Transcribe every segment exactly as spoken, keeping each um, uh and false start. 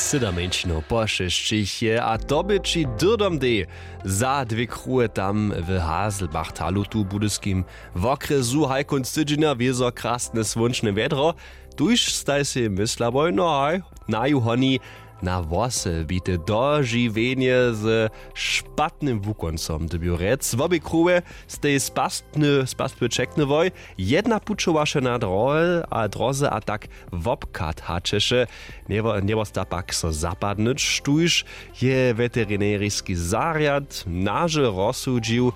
Syda mjeńšinow po šesćich je a to bě ći dyrdom dej. Za dwě kruhe tam w haselbachtalu tu w budyskim wokrjesu haj kónc tydźenja wězo krasne słónčne wjedro. Tuž staj sej mysla wójno haj naju honi na włosy bite dožiwjenje ze špatnym wukoncom dyrbju rjec wobě kruhe. Stej spastny spastwy čekny woj jedna pućowaše na droze a tak wobkat hačeše. Njewosta pak so zapadnyć tuž je weterineriski zarjad naže rozsudźił,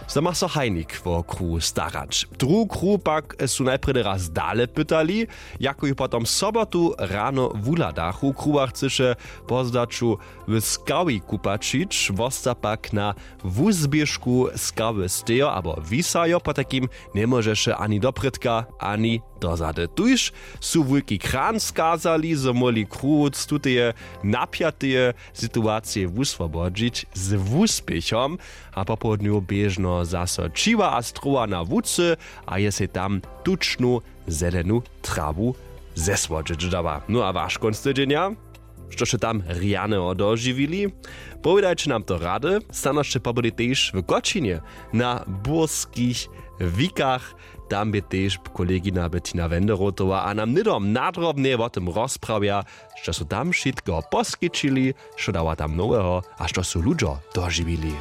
zo ma so hajnik wo kruhu starać druhu kruhu pak su najprjedy raz dale pytali, jako ju potom sobotu rano wuhladachu kruha chcyše po zdaću w skawi kupaćić wosta pak na wuzběžku skawy stejo abo wisajo potajkim. Njemóžeše ani doprědka ani dozady tuž su wulki kran skazali zo móhli kruhuc tuteje napjateje situacije wuswobodźić z wuspěchom. A popołdnju běžno zaso ćiwa a strowa na łucy a je sej tam tučnu zelenu trawu zesłodźeć dała. No a waš kónc tydźenja? Što sće tam rjaneho dožiwili? Powědajće nam to rady. Stanošće pobydli tež w kočinje na burskich wikach. Tam bě tež kolegina bettina wenderotowa a nam hnydom nadrobnje wo tym rozprawja, što su tam wšitkeho poskićili, što dawa tam noweho a što su ludźo dožiwili.